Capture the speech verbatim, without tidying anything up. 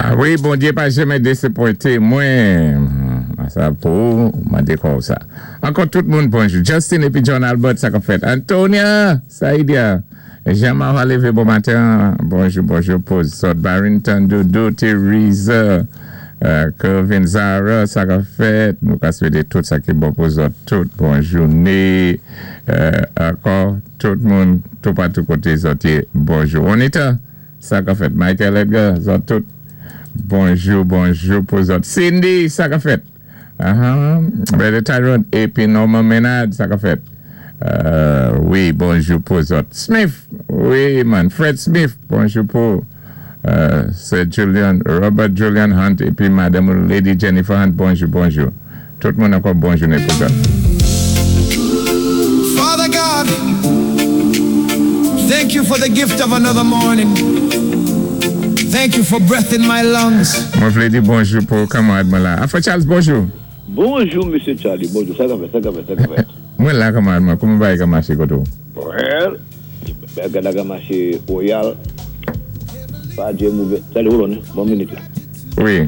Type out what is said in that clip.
Ah wi, Bondyé pa janmè désapwenté mwen. Sa pou mandé kon sa. Ankò tout moun bonjou. Justin épi John Albert, sa k fèt. Antonia, Saïdia. Jean-Marc lévé bon maten. Bonjou, bonjou pou zòt. Barrington, Doudou, Teresa, euh, Kevin Zara, sa k fèt. Nou ka swété tout sa ki bon pou zòt. Tout bon jouné. Euh, ankò, tout moun, tout patou koté zòt yé, bonjou. Juanita, sa k fèt. Michael Edgar, zòt tout. Bonjou, bonjou pou zòt. Cindy, sa k fèt. Uh-huh. Brother Tyrone, épi Norman Menard, sa k fèt. Euh, wi, bonjou pou zòt. Smith, wi, man. Fred Smith, bonjou pou euh, Sir Julian, Robert Julian Hunt, épi Madame Lady Jennifer Hunt, bonjou, bonjou. Tout moun ankò bon jouné pou zòt. Father God, thank you for the gift of another morning. Thank you for breath in my lungs. Mwen vlé di bonjou pou kanmarad mwen la. Afro Charles, bonjou. Bonjou, Mesye Charlie. Bonjou. Sa k fèt, sa k fèt, sa k fèt. Mwen la kanmarad mwen, kouman bagay ka maché koté ou? Well, bagay la ka maché royal. Pa djé mové. Charlie, hold on, one minute la. Wi.